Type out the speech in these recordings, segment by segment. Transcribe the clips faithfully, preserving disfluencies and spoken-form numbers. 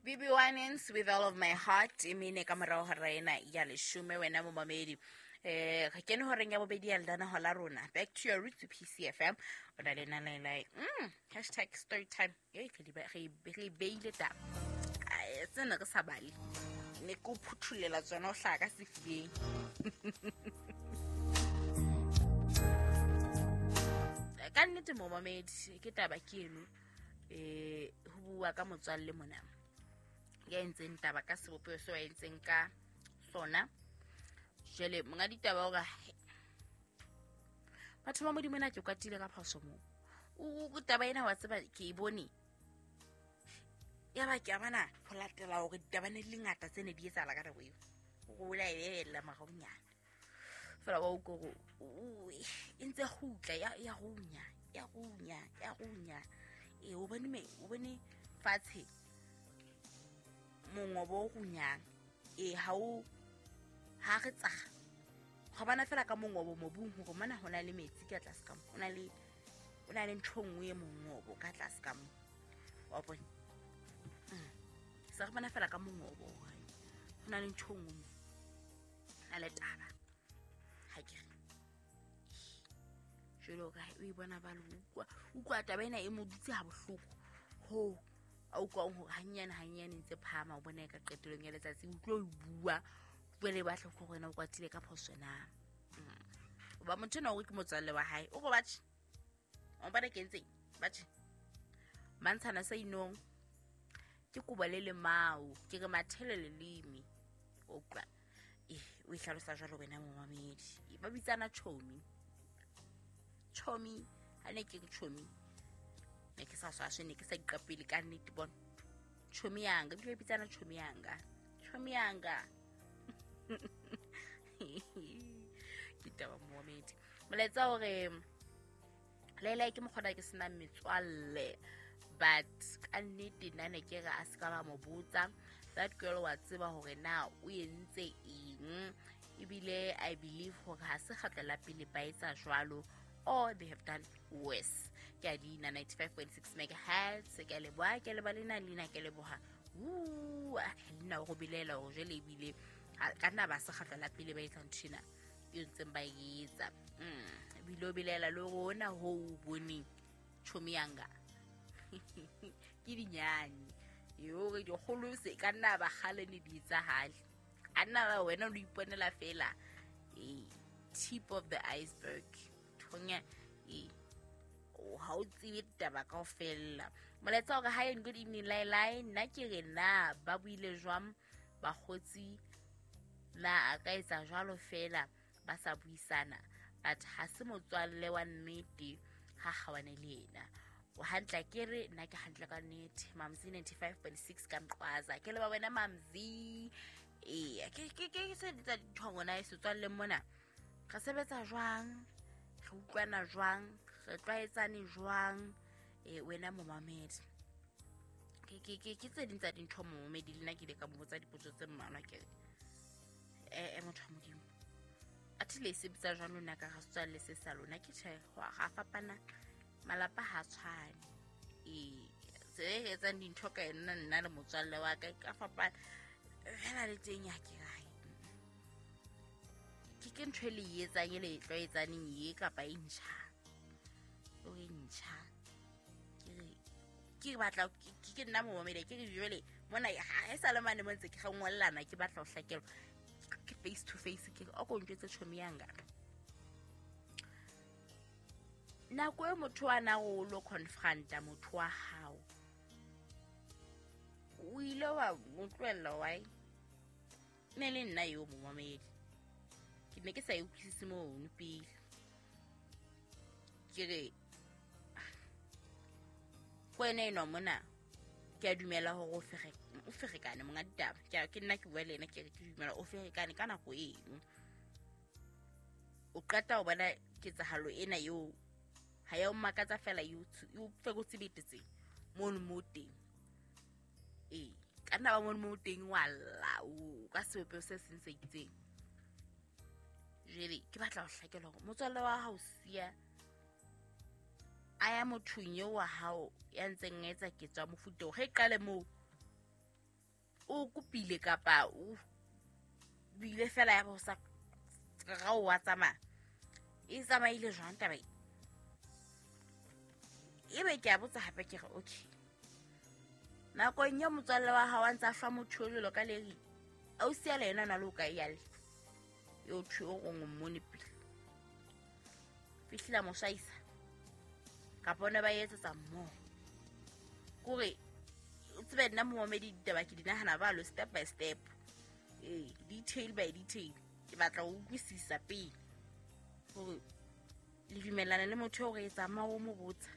B B Winans, "With All of My Heart", e mene ka morao hora ena ya leshome. Wena momamedi, eh re kene horeng ya bobedi ya lenaneo la rona, Back to Your Roots, P C F M. O na le nalelai mm, hashtag story time. E re di ba- re re beile taba. Ai, tsena re sa bale, ne ke o phuthulela tsona, o hlaha ka sefubeng. Ka nnete momamedi, ke taba ke eno, eh ho bua ka motswalle mona ya entseng taba ka sebopeho seo a entseng ka sona. Jwale monga ditaba o re, "He, batho ba Modimo, na ke kwatile ka phoso moo. O o- taba ena wa tseba ke e bone, ya ba ke a bona ho latela hore ditaba ne di le ngata tse ne di etsahala ka nako eo." O la e bebella moraonyana fela, wa utlwa hore o- e ntse kgutla, ya ya runya, ya runya, ya runya. Ee, o bone me o bone fatshe mongobo o runyang. Ee, ha o ha re tsaga ga bona fela ka mongobo mobung, hore mona ho na le metsi ka tlase ka mo, ho na le ho na le ntho e nngwe e mongobo ka tlase ka mo, wa bona. Mm. Se re bona fela ka mongobo hore ho na le ntho e nngwe mo, ho na le taba. Ha ke re jwale o ka o e bona ba le utlwa utlwa taba ena e mo dutse ha bohloko ho a utlwang hore hanyane hanyane ntse phahama, o bona e ka qetellong ya letsatsi o tlo e bua. Jwale ba hloka hore wena o kwatile ka phoso na. Mm. Hoba motho enwa o re ke motswalle wa hae, o re batjhe o bona ke entseng, batjhe mantshana sa inong ke kobo le lemao, ke re mathele leleme o utlwa. E o e hlalosa jwalo wena momamedi. E, ba bitsana chomi chomi. Ha ne ke re chomi, ne ke sa swaswe, ne ke sa iqapele ka nnete. Bona chomi yanga, ebile ba bitsana chomi yanga, chomi yanga. Ke taba momamedi, molaetsa hore Laila ke mokgona ke senang metswalle, but ka nnete nna ne ke re a se ka ba mo botsa. That girl wa tseba hore na o entse eng, ebile I believe hore ha se kgetlo la pele ba etsa jwalo, or they have done worse. Ke a dina ninety-five point six megahertz. Ke a leboha, ke leba lena leina, ke leboha. Lena o go belela hore jwale ebile ha- ka nna ba se kgetlo la pele ba etsa ntho ena e ntseng ba e etsa. Mm, ebile o belela le rona ho o boneng tjhomi yanga ke dinyane hore dikgolo se ka nna ba kgale ne di etsahale, ka nna ba wena o iponela fela ee tip of the iceberg thonya. Ee, o ha o tsebe ditaba kaofela. Molaetsa hore hi and good evening Lailai, nna ke re na ba buile jwang bakgotsi, na a ka etsa jwalo fela ba sa buisana? But ha se motswalle wa nnete, ha kgawane le ena. O hantle, ke re nna ke hantle ka nnete. Mamzi ninety-five point six ka Mqwaza, ke leba wena Mamzi. Ee, ke ke ke se tsa dintho ngwana e setswalleng mona, re sebetsa jwang, re utlwana jwang, re tlwaetsane jwang? E wena momamedi, ke ke ke ke tse ding tsa dintho momamedi. Le nna ke ile ka mo botsa dipotso tse mmalwa. Ke re eh motho wa Modimo, athe le e sebetsa jwang lona ka ga setswalle se sa lona? Ke tjhe, ga fapana, malapa ha tshwane. Ee, tsela e re etsang dintho ka yona nna le motswalle wa ka e ka fapana fela le teng ya ke rae. Ke ke ntho e le e etsang, e le e tlwaetsaneng ye, kapa e ntjha? O e ntjha. Ke re ke batla ke ke nna momamedi, ke re jwale mona ha e sa le mane mo ntse ke ngollana, ke batla ho hlakelwa ke face to face. Ke re o ko ntjwetse tjhomi yanga, nako e motho wa na o lo confronta motho wa hao, o ile wa mo tlohella why? Ne le nna eo momamedi, ke ne ke sa e utlwisise mono pele. Ke re ko wena enwa mona, ke a dumela hore o fere o ferekane monga ditaba. Ke a- ke nna ke bua le ena, ke re ke dumela o ferekane ka nako eno, o qeta ho bona ketsahalo ena eo, ha ya o makatsa fela, e o tshu- e o ferotse betetseng mono mo teng. Ee, ka nna ba mono mo teng wa lla o ka sebopeho se seng se itseng. Jwale ke batla ho hlakelwa hore motswalle wa hao siya a ya mothong eo wa hao ya ntseng a etsa ketso ya mofuta oo, ge e qale moo. O kopile kapa o bile fela ya bo sa ga o wa tsamaya. E tsamaile jwang taba e? Ebe ke a botsa hape ke re okay. Nakong ya motswalle wa hao a ntse a hlwa motho o jwalo ka leri, ausi ya le yena na le o kae ya le? Eo thwe o rong o mmone pele. Fihlile a mo swaisa. Kapa ne ba etsetsa mmoho. Kore o tsebe nna momamedi ditaba ke di nahana balo step by step. Eh, detail by detail. Ke batla ho utlwisisa pele hore le dumellana le motho o re tsamaya o mo botsa.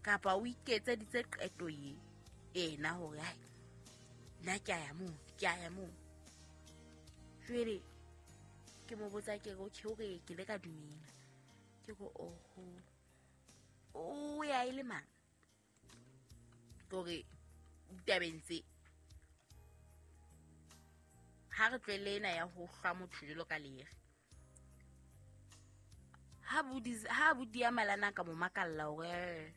Kapa o iketseditse qeto ye ena hore hai nna ke a ya moo, ke a ya moo. Jwale ke mo botsa ke re okay, hore ke le ka dumela. Ke re oho, o ya e le mang? Kore ditabeng tse ha re tlohele ena ya ho hlwa motho jwalo ka lere. Ha bodi ha bodi ya malana ka mo makalla hore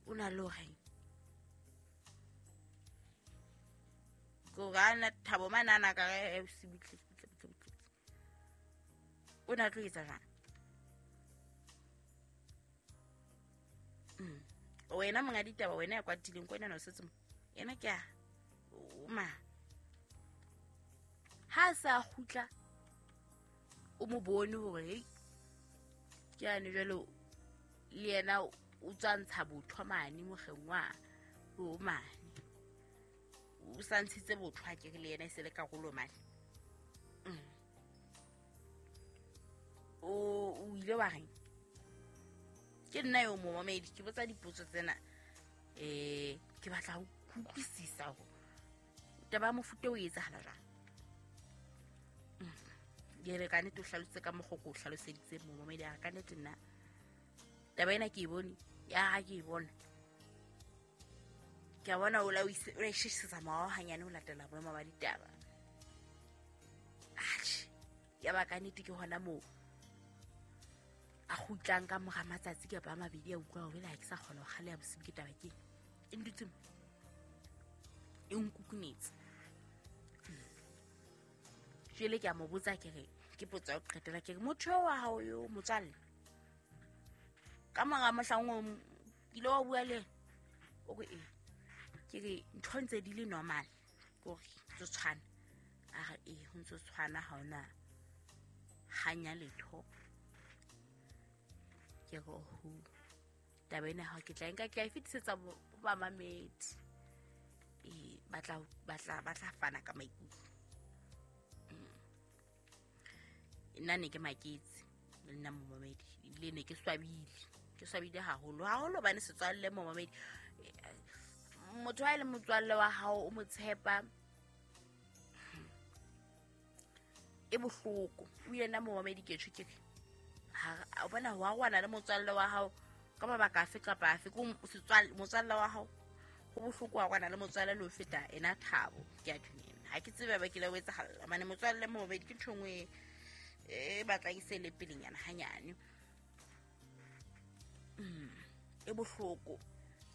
o na le horeng. Ko gana Thabo manana ka re se butle butle butle butle. O na tlo etsa jwang? Mm. Wena monga ditaba wena ya kwatileng ko wena no setse mo. Yena ke a o ma. Ha sa kgutla o mo bone hore hei ke ane jwalo le yena o tswa ntsha botho mane mokgeng wa o mane. O sa ntshitse botho ha ke re le yena e se le karolo mane. Mm. O o ile wa reng? Ke nna yo momamedi ke botsa dipotso tsena eh ke batla ho utlwisisa hore taba ya mofuta o etsahala jwang. Ke re ka nnete o hlalositse ka mokgwa o ko o hlaloseditse momamedi a ka nnete nna taba ena ke e bone ya ha ke e bona. Ke a bona o la o ishisetsa morao hanyane ho latela boemo ba ditaba. Atjhe, ya ba ka nnete ke hona moo a kgutlang ka mora matsatsi kapa a mabedi a utlwa hore ha ke sa kgona ho kgaleha bosiu ke taba ke e ntutse mo e nkukunetse. Jwale ke a mo botsa ke re ke potso ya ho qetela ke re motho wa hao yo motswalle ka mora mohlang o ile wa bua le o re ee ke re ntho ntse di le normal ke hore ntse tshwana a re ee ho ntse tshwana ha ona hanya letho. Ke re ho taba ena ha ke tla nka ke a e fetisetsa ho bamamedi ee ba tla ba tla ba tla fana ka maikutlo. Nna ne ke maketse le nna momamedi ebile ne ke swabile ke swabile haholo haholo hobane setswalle momamedi motho ha e le motswalle wa hao o mo tshepa e bohloko. O yena momamedi ke tjho ke re ha o bona ho arwana le motswalle wa hao ka mabaka afe kapa afe ko setswalle motswalle wa hao ho bohloko ho arwana le motswalle le ho feta ena Thabo. Ke a dumela ha ke tsebe ba ke le o etsahalla mane motswalle momamedi ke ntho nngwe e batla e se le pelenyana hanyane. Mm, e bohloko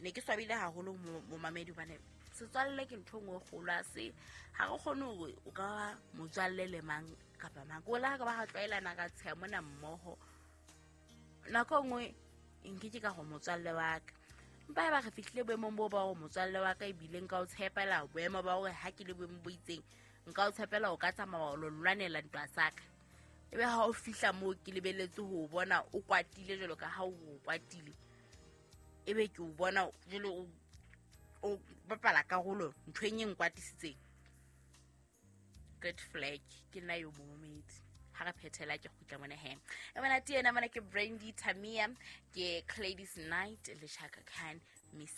ne ke swabile haholo momamedi hobane setswalle ke ntho nngwe kgolo a se ha re kgone hore o ka ba motswalle le mang kapa mang ko la ka ba ha tlwaelana ka tsheya mona mmoho nako nngwe nke ke ka go motswalle wa ka mpa e ba re fihlile boemong bo ba go motswalle wa ka ebile nka o tshepela boemo ba hore ha ke le boemong bo itseng nka o tshepela o ka tsamaya o lo lwanela ntwa sa ka. Ebe ha o fihla moo ke lebeletse ho bona o kwatile jwalo ka ha o kwatile ebe ke o bona jwalo o bapala karolo nthweng e nkwatisitseng. Red flag ke nna yo momamedi ha re phethela ke kgutla mona he. E bona tena mona ke Brandy Tamia ke Gladys Knight le Chaka Khan Miss